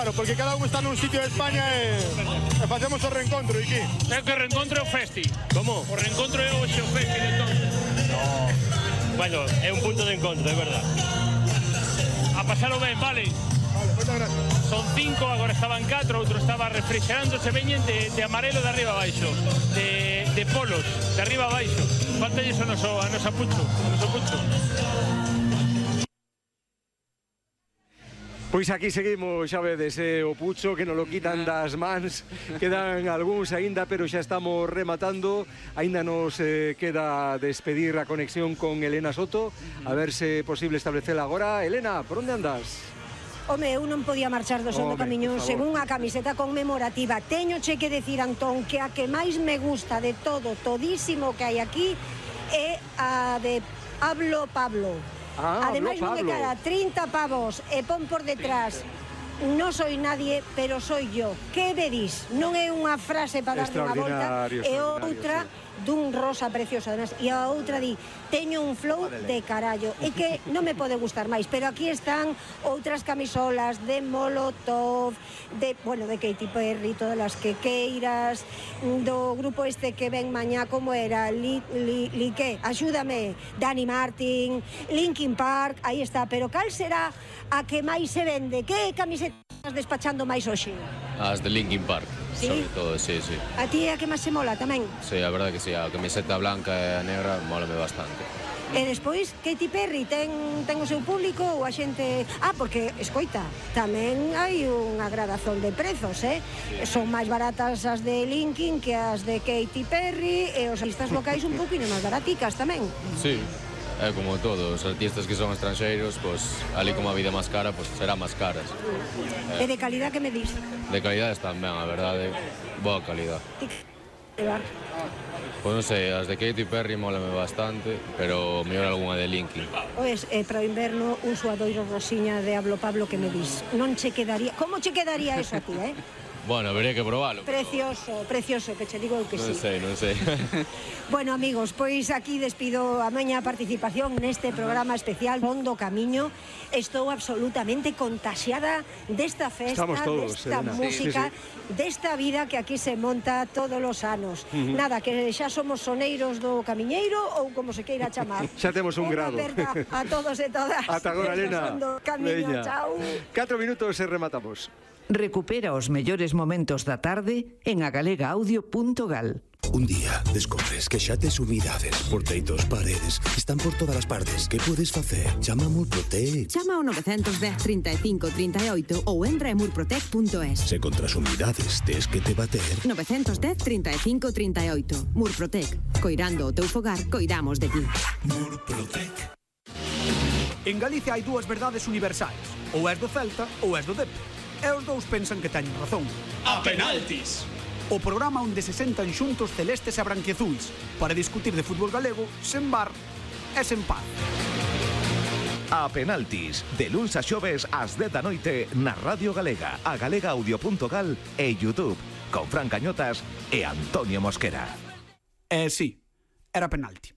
Claro, porque cada un está nun sitio de España e facemos o reencontro, e que? É que o reencontro é o festi. Como? O reencontro é hoxe o festi, entón. No. Bueno, é un punto de encontro, é verdad. A pasalo ben, vale? Vale, moitas gracias. Son 5, agora estaban 4, outro estaba refrigerándose, veñen de amarelo de arriba a baixo, de polos, de arriba a baixo. Falta iso a nosa pucho, o noso pucho. Pois aquí seguimos, xa vedes, o pucho que nos lo quitan das mans. Quedan algúns aínda, pero xa estamos rematando. Aínda nos queda despedir a conexión con Elena Soto. A ver se é posible establecela agora. Elena, por onde andas? Home, eu non podía marchar do Son do Camiñón sen unha camiseta conmemorativa. Teñoche que decir, Antón, que a que máis me gusta de todo, todísimo que hai aquí, é a de Pablo. Ademais non é cara, 30 pavos e pon por detrás: non soy nadie, pero soy yo. Que vedís? Non é unha frase para darle unha volta, é outra dun rosa precioso, además, e a outra di: teño un flow de carallo. E que non me pode gustar máis, pero aquí están outras camisolas de Molotov, de Katy Perry, todas as que queiras, do grupo este que ven mañá, como era? Que? Axúdame, Dani Martin, Linkin Park, aí está. Pero cal será a que máis se vende? Que camisetas estás despachando máis hoxe? As de Linkin Park, ¿sí? Sobre todo, sí. A ti é a que máis se mola tamén? Sí, a verdade que sí, a camiseta blanca e a negra mólame bastante. E despois, Katy Perry ten o seu público ou a xente... porque, escoita, tamén hai unha gradazón de prezos, Sí. Son máis baratas as de Linkin que as de Katy Perry, e os artistas locais un pouquinho máis baraticas tamén. Sí, é como todo, os artistas que son estranxeiros, pues, ali como a vida máis cara, pues será máis caras. E de calidad que me dis? De calidad están ben, a verdade, boa calidad. Pois non sei, as de Katy Perry mólame bastante, pero mellor algunha de Linkin. Pois, para o inverno, un suadoiro rosiña de Pablo que me dis. Non che quedaría... Como che quedaría eso a ti, Bueno, habería que probalo. Precioso, que che digo que sí. Non sei. Bueno, amigos, pois aquí despido a miña participación neste programa especial Son do Camiño. Estou absolutamente contaxiada desta festa, desta música, desta vida que aquí se monta todos os anos. Nada, que xa somos soneiros do camiñeiro ou como se queira chamar. Xa temos un grado. A todos e todas. Ata agora, Elena. Son do Camiño, chao. 4 minutos e rematamos. Recupera os mellores momentos da tarde en agalegaaudio.gal. Un día descobres que xa tes humidades por teitos, paredes, están por todas as partes. Que podes facer? Chama a Murprotec. Chama ao 910 35 38 ou entra en murprotec.es. Se contra as humidades tes que te bater. 910 35 38. Murprotec. Coirando o teu fogar, coidamos de ti. Murprotec. En Galicia hai dúas verdades universais. Ou és do Celta ou és do Dep. E os dous pensan que teñen razón. A penaltis! O programa onde se sentan xuntos celestes e branquiazuis para discutir de fútbol galego sen bar e sen paz. A penaltis, de luns a xoves ás 10 da noite na Radio Galega, a galegaudio.gal e YouTube, con Fran Cañotas e Antonio Mosquera. Sí, era penalti.